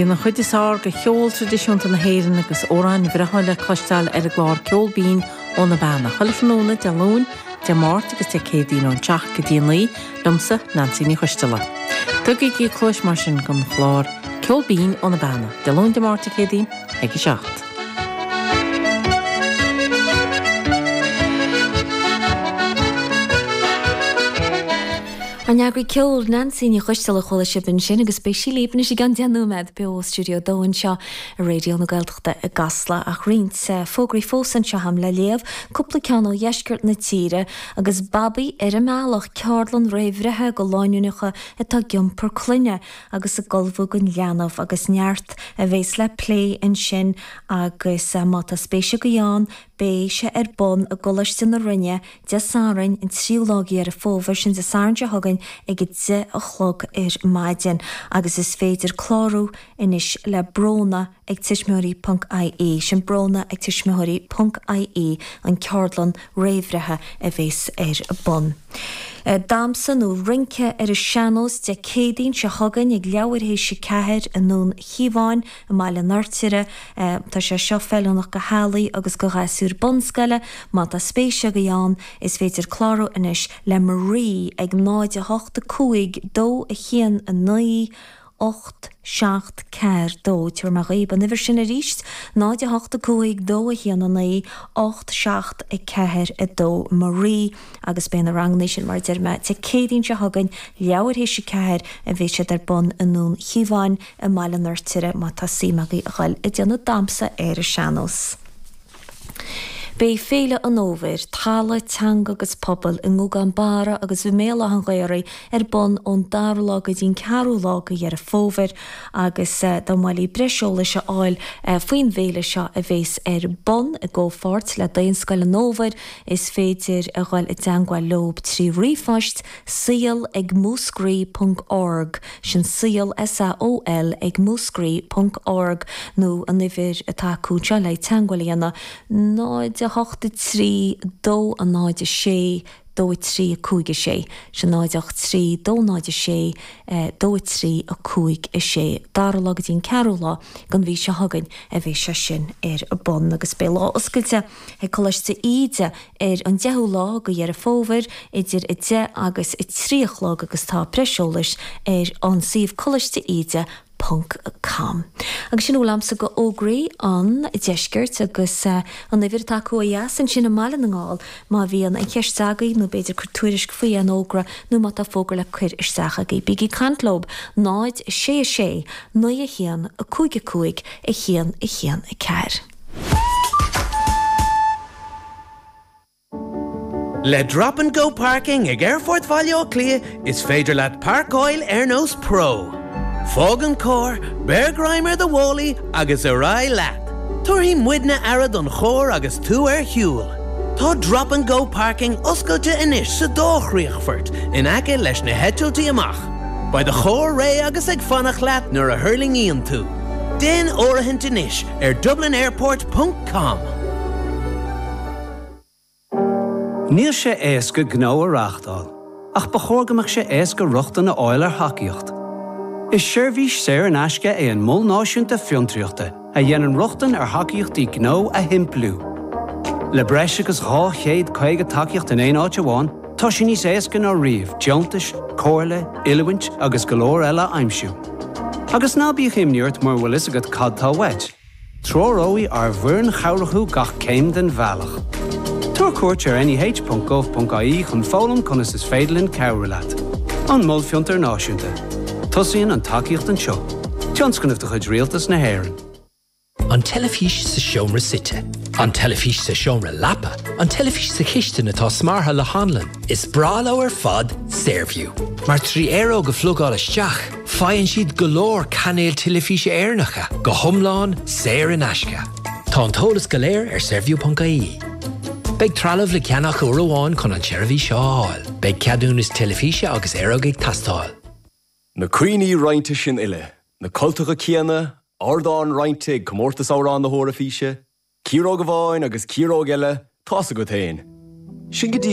Bíonn an chuid is fearr de cheol traidisiúnta na hÉireann agus amhráin bhreátha le cloisteáil ar an gclár Ceol Binn ó na Beanna, chuile thráthnóna Dé Luain, Dé Máirt agus Dé Céadaoin ón 7 go dtí 9, liomsa, Neansaí Ní Choisteala. Tugaigí cluais mar sin don chlár Ceol Binn ó na Beanna, Dé Luain, Dé Máirt, Dé Céadaoin ag 7. Ár n-eagraí ceoil, Neansaí Ní Choisteala a chuala sibh ansin agus beidh sí libh anois i gceann 10 nóiméad beo ó Stiúideo 2 anseo i Raidió na Gaeltachta i gCasla. Ach roinnt fógraí fós anseo agam le léamh, cúpla ceann ó dheisceart na tíre agus Babaí ar an mBealach, ceardlann réamhbhreithe do lánúineacha atá ag iompar clainne agus ag ullmhú don leanbh agus neart a bhéas le plé ansin agus má tá spéis agaibh ann beidh sé ar bun i gColáiste na Rinne Dé Sathairn, an tríú lá de Dheireadh Fómhair, sin Dé Sathairn seo chugainn ag 10 a chlog ar maidin agus is féidir clárú anois le Bróna ag tuismitheoirí ponc ie, sin Bróna ag tuismitheoirí ponc ie an ceardlann réamhbhreithe a bhéas ar bun. Damhsa nó rince ar an sean-nós Dé Céadaoin seo chugainn ag leathuair théis 4 i nDún Chíomháin i mBaile an Fheirtéaraigh. Tá sé seo feiliúnach do theaghlaigh agus do ghasúir bunscoile. Má tá spéis agaibh ann, is féidir clárú anois le Marie ag 0 8 5 2 1 9 8 7 4 2. Tabharfaidh mé dhaoib an uimhir sin arís, 0 8 5 2 1 9 8 7 4 2. Marie agus beidh na ranganna sin, mar a deir mé, Dé Céadaoin seo chugainn, leathuair théis 4 a bheidh siad ar bun i nDún Chíomháin i mBaile an Fheirtéaraigh má tá suim agaibh a dhul ag déanamh damhsa ar an sean-nós. Beidh Féile an Fhómhair, Talamh, Teanga agus Pobal i nGúgán Barra agus i mBéal Átha an Ghaorthaidh ar bun ón dara lá go dtí an ceathrú lá de Dheireadh Fómhair agus dá mba mhaith libh breis eolais a fháil faoin bhféile seo a bhéas ar bun i gcomhpháirt le Daonscoil an Fhómhair is féidir a dhul i dteangmháil leob trí ríomhphost saol ag múscraí ponc org, sin saol, S-A-O-L, ag múscraí ponc org, nó an uimhir atá acu anseo le teangmháil a dhéanamh, 0 8 3 2 0 6 2 3 5 6, sin 0 8 3 2 0 6 2 3 5 6. Dara lá go dtí an ceathrú lá den mhí seo chugainn a bheidh sé sin ar bun agus beidh lá oscailte ag Coláiste Íde ar an 10ú lá de Dheireadh Fómhair idir 10 agus 3 a chlog agus tá breis eolais ar an suíomh colaiste-íde ponc com. Agus sin a bhfuil a'msa de fhógraí an deiscirt agus an uimhir atá acu ó dheas ansin i mBaile na nGall má bhíonn aon cheist agaibh nó b'fhéidir cur tuairisc faoi aon fhógra nó má tá fógra le cuir isteach agaibh bígí ag caint leob 0 6 6 9 1 5 5 1 1 4. Le Drop and Go Parking ag Aerfort Bhaile Átha Cliath is féidir leat páirceáil ar nós pro. Fág an carr, beir greim ar do mhálaí agus ar aghaidh leat! Tabharfaidh muidne aire don charr agus tú ar shiúl. Tá Drop and Go Parking oscailte anois sa dá chríochfort in aice leis na heitiltí amach. Beidh do charr réidh agus ag fanacht leat nuair a thuirlingíonn tú. Déan áirithint anois ar dublinairport ponc com. Níl sé éasca gnó a reáchtáil, ach ba chóir go mbeadh sé éasca rochtain a fháil ar thacaíocht. Is seirbhís saor in aisce é an Mol Náisiúnta Fiontraíochta a dhéanann rochtain ar thacaíochtaí gnó a shimpliú. Le breis agus 250 tacaíocht in aon áit amháin, tá sé níos éasca ná riamh deontais, comhairle, oiliúint agus go leor eile a aimsiú. Agus ná bíodh imní ort mura bhfuil fhios agat cad tá uait. Treoróidh ár bhfoireann chabhrach thú gach céim den bhealach. Tabhair cuairt ar neh.gov.ie chun foghlaim conas is féidir linn cabhrú leat. An Mol Fiontar Náisiúnta. Tosaíonn an tacaíocht anseo. Tionscnamh de chuid Rialtas na hÉireann. An teilifís sa seomra suite. An teilifís sa seomra leapa. An teilifís sa chistin atá smeartha le hanlann. Is breá leo ar fad Saorview. Mar 3 aeróg a phlugáil isteach, faigheann siad go leor cainéil teilifíse Éireannacha, go hiomlán saor in aisce. Tá an t-eolas go léir ar saorview.ie. Beidh trealamh le ceannach uair amháin chun an tseirbhís seo a fháil. Beidh ceadúnas teilifíse agus aeróg ag teastáil. Na cuimhní roinnte sin uile, na cultacha céanna, ardán roinnte ag Comórtas Amhrán na hEoraifíse, ciaróg amháin agus ciaróg eile, tá's agat féin. Sin go dtí.